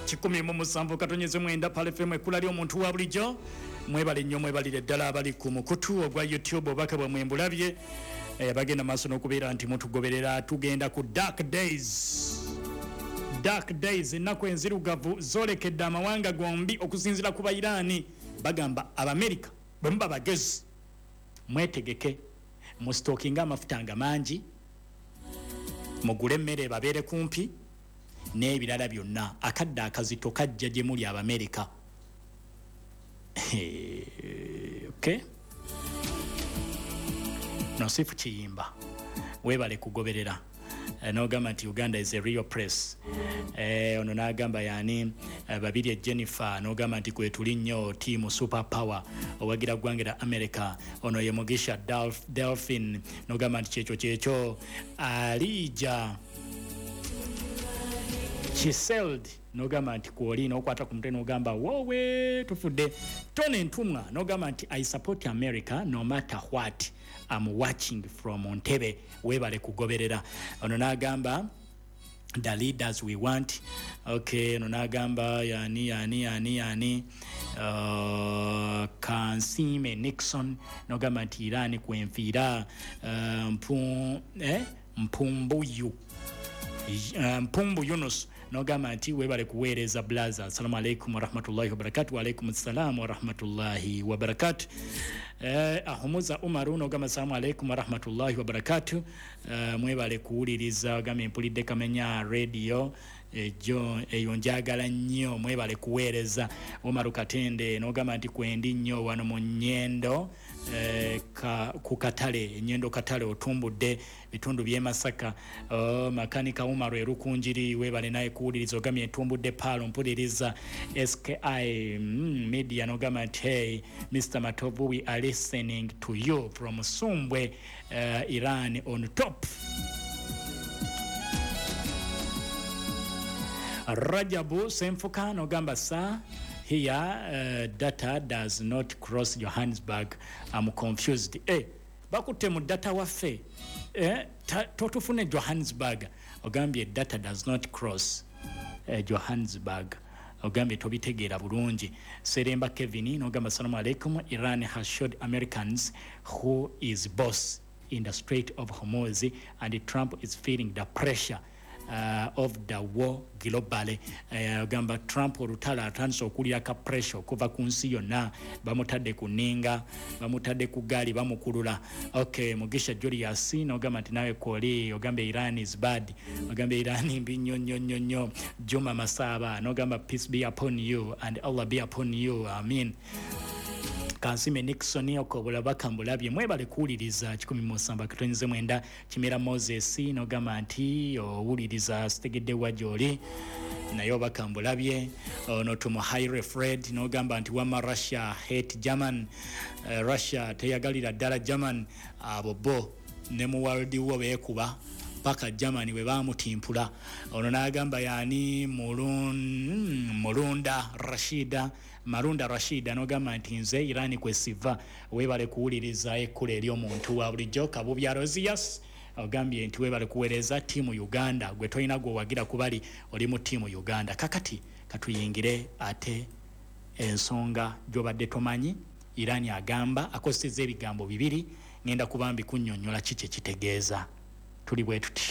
107.9 Pearl FM, ekkula ly'omuntu wa bulijjo. Mwebale nnyo, mwebalire ddala abali ku mukutu ogwa YouTube. Obubaka bwamwe mbulabye, bagenda maaso n'okubeera nti mutugoberera. Tugenda ku dark days, dark days, ennaku enzirugavu zolekedde amawanga gombi. Okusinziira ku Bairaani, bagamba Abamerika, bwe muba bagezi mwetegeke, mustockinga amafuta nga mangi, mugule emmere babeere kumpi n'ebirala byonna. Akadde akazito kajja gye muli, Abamerika. Okay, Nosifu Kiyimba, weebale kugoberera. N'ogamba nti Uganda is a real press. Ono n'agamba yani Babirye Jennifer, n'ogamba nti kwetuli nnyo, team super power, owagira ggwanga lya America. Ono ye Mugisha Delphin, n'ogamba nti kyekyo kyekyo. Alija Chiseld, n'ogamba nti kwoli, n'okwata ku mutwe n'ogamba wowe tufudde. Tone Ntumwa, n'ogamba nti I support America no matter what, I'm watching from Ntebe. Weebale kugoberera. Ono n'agamba the leaders we want. Okay, ono n'agamba yani yani yani yani Kansime Nixon, n'ogamba nti Iran kwenfiira. Mpumbuyu Mpumbu Yunus, nogamba nti webale kuweereza blaza. Assalamu alaikum warahmatullahi wabarakatu. Waalaikum salam warahmatullahi wabarakatu. Ahumuza Umaru, nogamba assalamu alaikum warahmatullahi wabarakatu. Mwebale kuwuliriza. Ogambye mpulidde Kamenya Radio ejo eyo njagala nnyo, mwebale kuweereza. Umaru Katende, nogamba nti kwendi nnyo wano mu Nyendo, ku katale Enyendo katale, otumbudde bitundu by'e Masaka. Oh, Makanika Umaru Erukunjiri, webale naye kuwuliriza. Ogambye entumbudde Paalo, mpuliriza SKI Media. Nogamba nti hey Mr Matovu, we are listening to you from Sumbwe. Iran on top. Rajabu Senfuka, nogamba sa here data does not cross Johannesburg, I'm confused. Bakutte mu data waffe, totufune Johannesburg. Ogambye data does not cross Johannesburg, ogambye tobitegeera bulungi. Seremba Kevin, nogamba assalamu alaikum, Iran has showed Americans who is boss in the Strait of Hormuz and Trump is feeling the pressure of the war globally. Ogamba Trump olutalo atandise okuwulira ka pressure okuva ku nsi yonna, bamutadde ku nninga, bamutadde ku gaali, bamukulula. Okay, Mugisha Julius, nogamba nti nawe kwoli. Ogamba Iran is bad, ogamba Iran mbi nnyo nnyo nnyo nnyo. Juma Masaba, nogamba peace be upon you and Allah be upon you, amin. Kansime Nixon, okobulabaka mbulabye, mwebale kuwuliriza 107.9. Kimera Moses, nogamba nti owuliriza, sitegedde wa gyoli naye obaka mbulabye. Ono Tumuhaire Fred, nogamba nti wama Russia hate German. Russia teyagalira ddala German. Abo bo ne mu world war beekuba paka Germany bwe bamutimpula. Ono n'agamba yani Mulunda Rashida, Marunda Rashida, nogamba nti nze Iran kwesiva. Webale kuwuliriza ekkula ery'omuntu wa bulijjo. Kabubya Rosius, ogambye nti webale kuweereza, team Uganda. Gwe tolina gwe kubali, oli mu team Uganda. Kakati katuyingire ate ensonga gy'obadde tomanyi. Iran agamba akozesezza ebigambo bibiri, ngenda kubambi kunnyonnyola ki kye kitegeeza. Tuli bwe tuti.